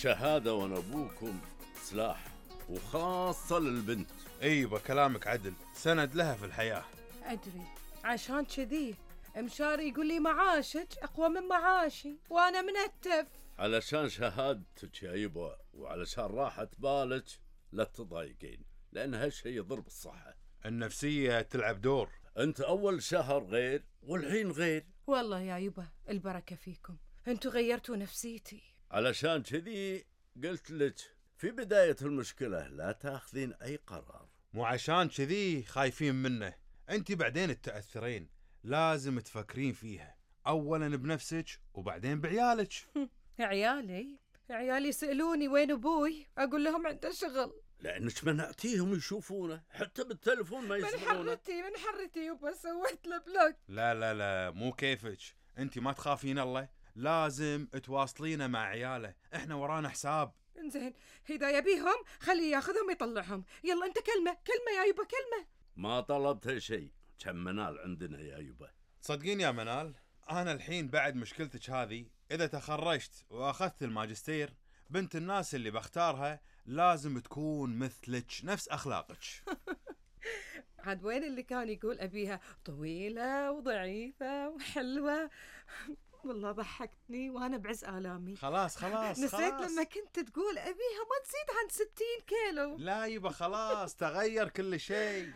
الشهادة وانا ابوكم سلاح، وخاصة للبنت. ايوه كلامك عدل، سند لها في الحياة. أدري، عشان كذي مشاري يقول لي معاشك أقوى من معاشي وأنا منتف. علشان شهادتك يا يبا، وعلشان راحة بالك لا تضايقين، لأن هالشي يضر بالصحة. النفسية تلعب دور. أنت أول شهر غير والحين غير. والله يا يبا البركة فيكم، أنتوا غيرتوا نفسيتي. علشان كذي قلت لك في بداية المشكلة لا تاخذين أي قرار. مو عشان كذي خايفين منه، انت بعدين تتأثرين، لازم تفكرين فيها اولا بنفسك وبعدين بعيالك. عيالي سألوني وين أبوي، أقول لهم عنده شغل. لأنك منعتيهم يشوفونه، حتى بالتلفون ما يسمعونه. من حرتي يبا سويت له بلوك. لا مو كيفك، انت ما تخافين الله، لازم تواصلينه مع عياله، احنا ورانا حساب. انزين إذا يبيهم خليه ياخذهم يطلعهم. يلا أنت كلمة يا يبا كلمة. ما طلبت شيء، كم منال عندنا يا يبا. تصدقين يا منال، أنا الحين بعد مشكلتك هذه إذا تخرجت وأخذت الماجستير، بنت الناس اللي بختارها لازم تكون مثلك، نفس أخلاقك. عاد وين اللي كان يقول أبيها طويلة وضعيفة وحلوة؟ والله ضحكتني وأنا بعز آلامي. خلاص نسيت لما كنت تقول أبيها ما تزيد عن 60 كيلو. لا يبا خلاص تغير كل شيء.